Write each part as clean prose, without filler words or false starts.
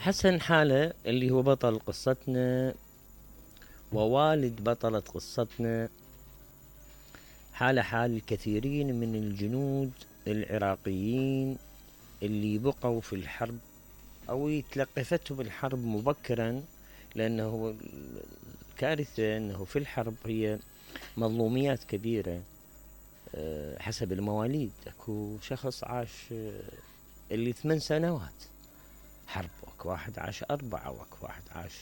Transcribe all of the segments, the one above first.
حسن حالة اللي هو بطل قصتنا ووالد بطلة قصتنا، حال الكثيرين من الجنود العراقيين اللي بقوا في الحرب أو تلقفتهم الحرب مبكرا، لأنه الكارثة أنه في الحرب هي مظلوميات كبيرة. حسب المواليد اكو شخص عاش اللي 8 سنوات حرب، واكو واحد عاش 4، واكو واحد عاش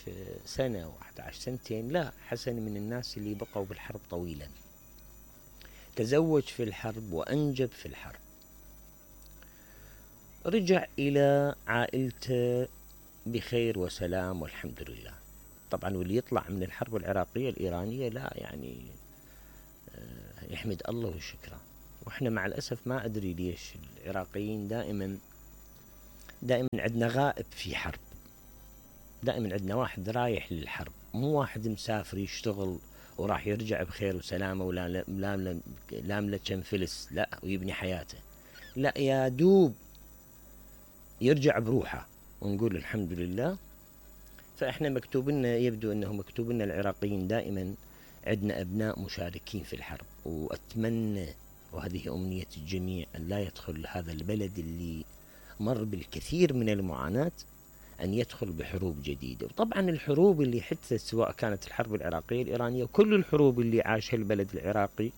سنة، واحد عاش سنتين. لا، حسن من الناس اللي بقوا بالحرب طويلا، تزوج في الحرب وأنجب في الحرب، رجع إلى عائلته بخير وسلام والحمد لله. طبعا واللي يطلع من الحرب العراقية الإيرانية لا يعني يحمد الله وشكره. واحنا مع الأسف ما أدري ليش العراقيين دائما عندنا غائب في حرب، دائما عندنا واحد رايح للحرب، مو واحد مسافر يشتغل وراح يرجع بخير وسلامة ولا لاملة كم فلس، لا، ويبني حياته. لا، يا دوب يرجع بروحه ونقول الحمد لله. فإحنا مكتوب لنا، يبدو أنه مكتوب لنا العراقيين دائما عندنا أبناء مشاركين في الحرب. وأتمنى، وهذه أمنية الجميع، أن لا يدخل هذا البلد اللي مر بالكثير من المعاناة أن يدخل بحروب جديدة. وطبعا الحروب اللي حدثت، سواء كانت الحرب العراقية الإيرانية، وكل الحروب اللي عاشها البلد العراقي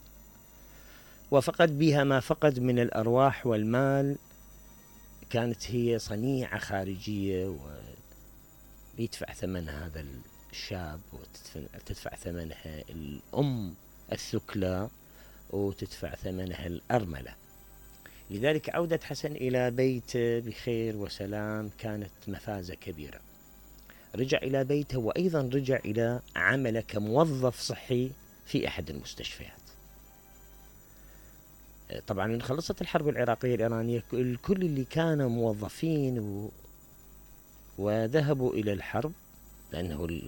وفقد بها ما فقد من الأرواح والمال، كانت هي صنيعة خارجية، ويدفع ثمن هذا الشاب، وتدفع ثمنها الأم الثكلى، وتدفع ثمنها الأرملة. لذلك عودة حسن إلى بيته بخير وسلام كانت مفازة كبيرة. رجع إلى بيته، وأيضا رجع إلى عمله كموظف صحي في أحد المستشفيات. طبعا من خلصت الحرب العراقية الإيرانية، الكل اللي كانوا موظفين وذهبوا إلى الحرب، لأنه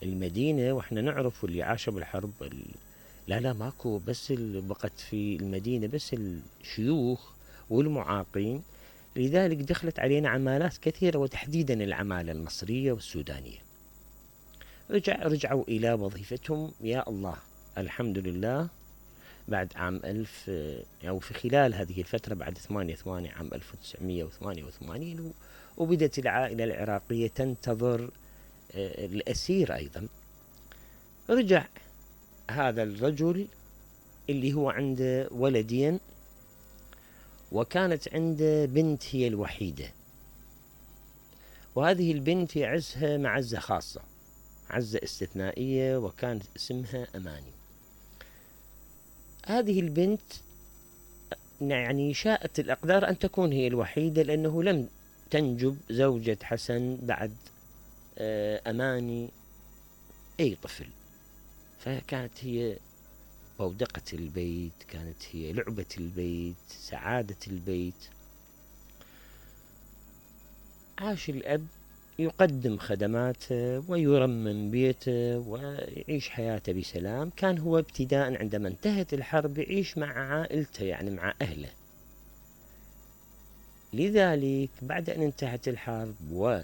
المدينة وإحنا نعرف اللي عاشوا بالحرب لا ماكو بس بقت في المدينة بس الشيوخ والمعاقين. لذلك دخلت علينا عمالات كثيرة، وتحديدا العمالة المصرية والسودانية. رجعوا إلى وظيفتهم، يا الله الحمد لله، بعد عام أو في خلال هذه الفترة بعد 8/8 عام 1988، وبدت العائلة العراقية تنتظر الأسير أيضا. رجع هذا الرجل اللي هو عنده ولدين، وكانت عنده بنت هي الوحيدة، وهذه البنت يعزها معزة خاصة، عزة استثنائية، وكانت اسمها أماني. هذه البنت يعني شاءت الأقدار أن تكون هي الوحيدة، لأنه لم تنجب زوجة حسن بعد أماني أي طفل، فكانت هي بودقة البيت، كانت هي لعبة البيت، سعادة البيت. عاش الأب يقدم خدماته ويرمم بيته ويعيش حياته بسلام. كان هو ابتداء عندما انتهت الحرب يعيش مع عائلته، يعني مع أهله. لذلك بعد أن انتهت الحرب ورجع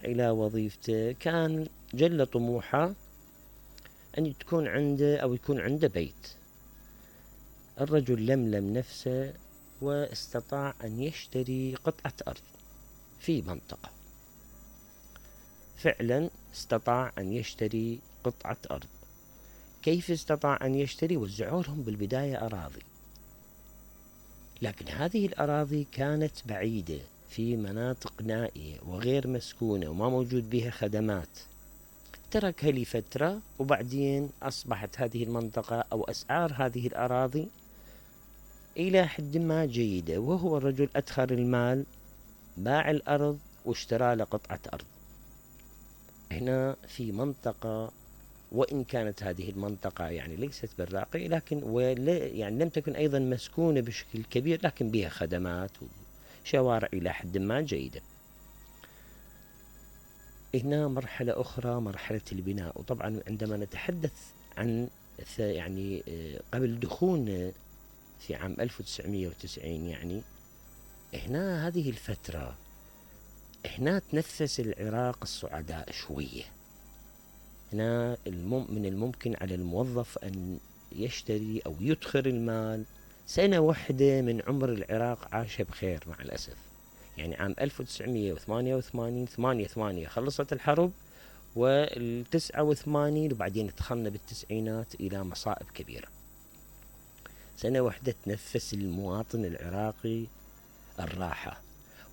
إلى وظيفته، كان جل طموحه أن تكون عنده أو يكون عنده بيت. الرجل لملم نفسه واستطاع أن يشتري قطعة أرض في منطقة، فعلا استطاع أن يشتري قطعة أرض. كيف استطاع أن يشتري؟ وزعوا لهم بالبداية أراضي، لكن هذه الأراضي كانت بعيدة في مناطق نائية وغير مسكونة وما موجود بها خدمات. تركها لفترة، وبعدين أصبحت هذه المنطقة أو أسعار هذه الأراضي إلى حد ما جيدة، وهو الرجل أدخر المال، باع الأرض واشترى له قطعة أرض هنا في منطقة، وإن كانت هذه المنطقة يعني ليست بالراقية، لكن يعني لم تكن أيضا مسكونة بشكل كبير، لكن بها خدمات وشوارع إلى حد ما جيدة. هنا مرحلة أخرى، مرحلة البناء. وطبعا عندما نتحدث عن يعني قبل دخولنا في عام 1990، يعني هنا هذه الفترة هنا تنفس العراق السعداء شوية. هنا من الممكن على الموظف أن يشتري أو يدخر المال. سنة واحدة من عمر العراق عاشها بخير مع الأسف. يعني عام 1988 88 خلصت الحرب، وال89 وبعدين دخلنا بالتسعينات إلى مصائب كبيرة. سنة واحدة تنفس المواطن العراقي الراحة،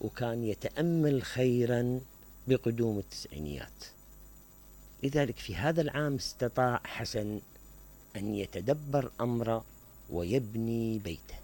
وكان يتأمل خيرا بقدوم التسعينيات. لذلك في هذا العام استطاع حسن أن يتدبر أمره ويبني بيته.